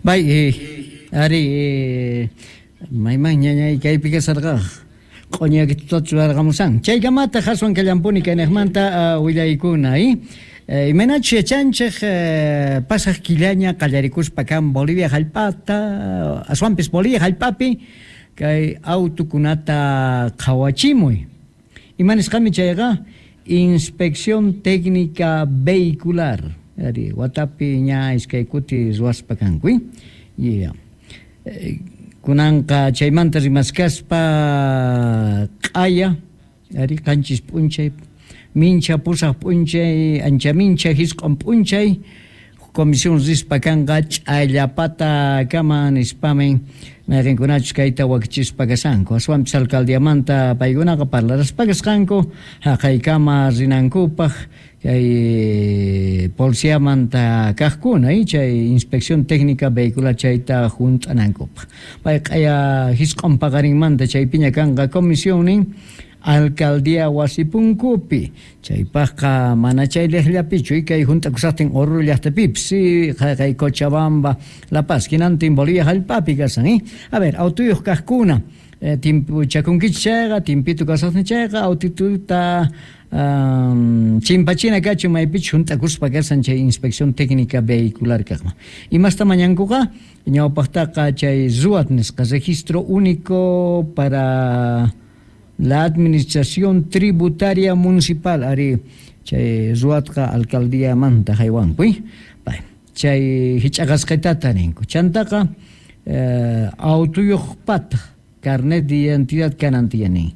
Bay, ari, mayman ñañay kaypi kasarqa q'oñakitutachu churarqamusan. Chaykamataq aswan kallampuni kaynejmanta willaykuna, imaynachus yachanchej pasaj killaña qallarikuspa kan Bolivia jallp'ata, aswanpis Bolivia jallp'api kay autukunata qhawachimuy. Ima nisqami chayqa? Inspección Técnica Vehicular. Ari, watapi ña iskay kuti ruwaspa kanku. Yeah. Kunanqa chaymanta rimaskaspa q'aya, ari, 7 p'unchay, mincha 8 p'unchay, ancha mincha 9 p'unchay, comisión rispa kanqa ch'allapata kama nispamin mayqinkunachus kayta wakichispa kashanku. Aswanpis alcaldiamanta paykunaqa parlaraspa kasqanku haqaykama rinankupaq kay policiamanta kaqkuna, chay inspección técnica vehicular chayta junt'anankupaq. Pay q'aya 9 paqarinmanta chaypiña kanqa comisionnin alcaldía wasipunkupi. Chaypaqqa mana chay liqllapichu, kay junt'akusaqtin Oruro llaqtapipis, qay Cochabamba, La Paz, hinantin Bolivia jallp'api kasan, A ver, autuyuq kaqkuna, timpuchakunkichis chayqa, timpitu kasaqtin chayqa, autituta chimpachina kachun maypichus junt'akuspa kasan chay inspección técnica vehicular kaqman. Imasta mañankuqa? Ñawpaqtaqa chay RUAT nisqa, Registro Único para la Administración Tributaria Municipal, ari chay RUATqa alcaldiamanta haywanku, chay hich'aqasqitata ninku. Chantaqa autuyuqpata carnet de identidad kanan tiyanin.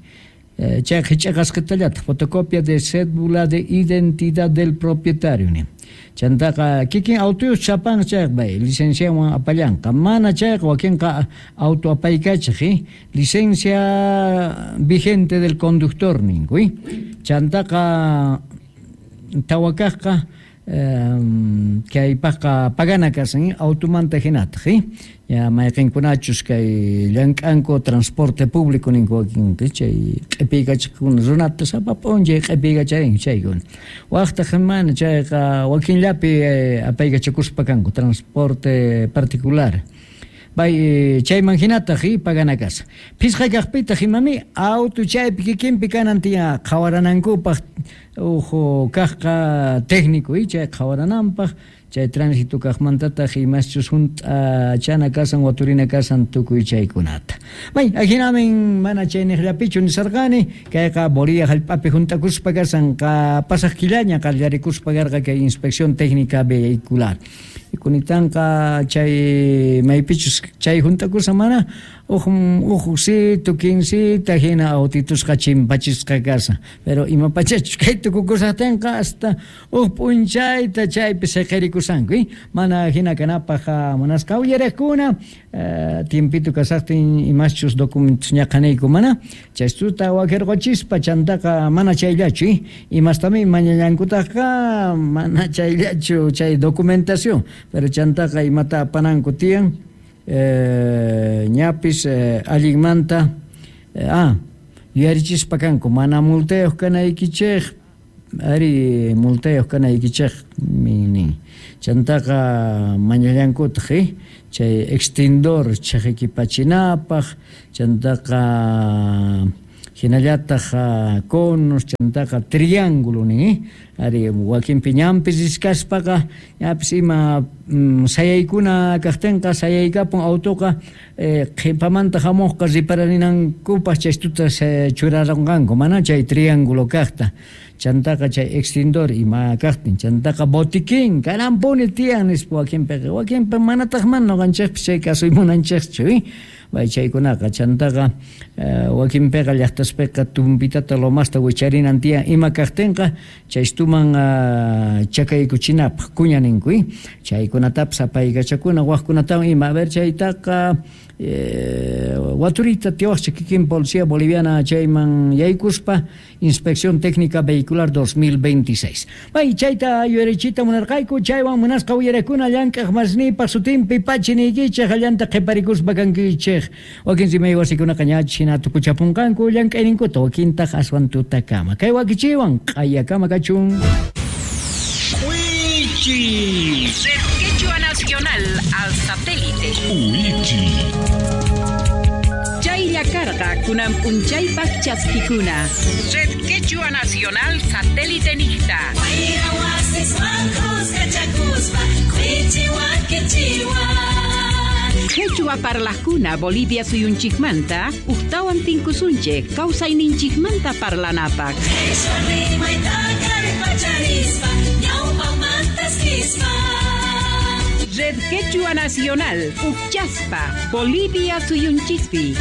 Chay hich'aqasqitallataq fotocopia de cédula de identidad del propietario nin. Chantaqa kikin autuyuq chapan chayqa bay licenciawan apallanqa. Mana chayqa wakinqa auto apaykachaq, licencia vigente del conductor ninku. Chantaqa tawakaqqa kaypaqqa pagana kasan automanta hinataq, ya mayqinkunachus kay llank'anku transporte público ninku wakin chay q'ipiykachaqkuna runata sapa p'unchay q'ipiykacharin chaykuna. Waqtaq mana chayqa wakinllapi apaykachakuspa kanku transporte particular. Bay chayman hinataq pagana kasa. Phisqa kaqpitaq imami auto chaypi kikinpi kanan tiyan qhawaranankupaq uhu kaqqa técnico chay qhawarananpaq chay tránsito kaqmantataq imaschus hunt'achana kasan waturina kasan tukuy chaykunata. Bay ajinamin mana chay niqllapichu nisarqani kayqa Bolivia jallp'api hunt'akuspa kasan qa pasaq killaña qallarikuspa karqa kay inspección técnica vehicular. Kunitanqa chay maypichus chay hunt'akusa mana uj 15 hina autitusqa chimpachisqa kasa. Pero ima pachachus kay tukukusaqtinqa hasta uj p'unchayta chaypi siqirikusanku, mana hina kanapaq munasqa uyariqkuna tiempito kasaqtin imaschus documentos ñaqaniyku mana chaystuta wakirquchispa chantaqa mana chayllachu, imastami mañallankutaqqa mana chayllachu chay documentación, pero chantaqa imata apananku tiyan ñapis allinmanta yuyarichispa kanku mana multayuq kanaykichej, ari multayuq kanaykichej nin. Chantaqa mañallankutaq chay extintor chhiqikipachinapaq, chantaqa hinallataq conos, chantaqa triángulo nin, ari wakinpi ñanpis riskaspaqa ñapis ima sayaykuna kaqtinqa sayaykapun autoqa qhipamanta hamuqqa ripararinankupaq chaystuta churarunqanku mana chay triángulo kaqta. Chantaqa chay extintor ima kaqtin, chantaqa botiquín kanampuni tiyan nispa wakinpiqa, wakinpi manataq mana nuqanchikpis chay kasuy munanchikchu, bay chaykunaqa chantaqa wakinpiqa llaqtaspiqa tumpitata lomasta wicharinan tiyan ima kaqtinqa chaystuman chakaykuchinapaq kuña ninku, chaykunatapis apaykachakuna waqkunatawan ima, a ver chaytaqa waturita tiwaqcha kikin policía boliviana chayman yaykuspa Inspección Técnica Vehicular 2026. Bay chayta yuyarichita munarqayku chaywan munasqa uyarakuna llank'aq masnipaq sutinpi pachiniykichej allanta qhiparikuspa kankichej. Wakin rimay wasikunaqa ñach hina tukuchapunqanku llank'ayninkuta wakintaq aswan tutakama. Kay wakichiwan q'ayakama kachun. Wichi. Red Quechua Nacional al satélite. Uichi. Chaylla karqa kunan p'unchaypaq chaskikuna. Red Quechua Nacional Satélite Niqta. Quechua parlajkuna Bolivia suyunchikmanta ujtawan tinkusunchik kawsayninchikmanta parlanapaq. Red Quechua Nacional, Uchaspa, Bolivia suyunchikpi.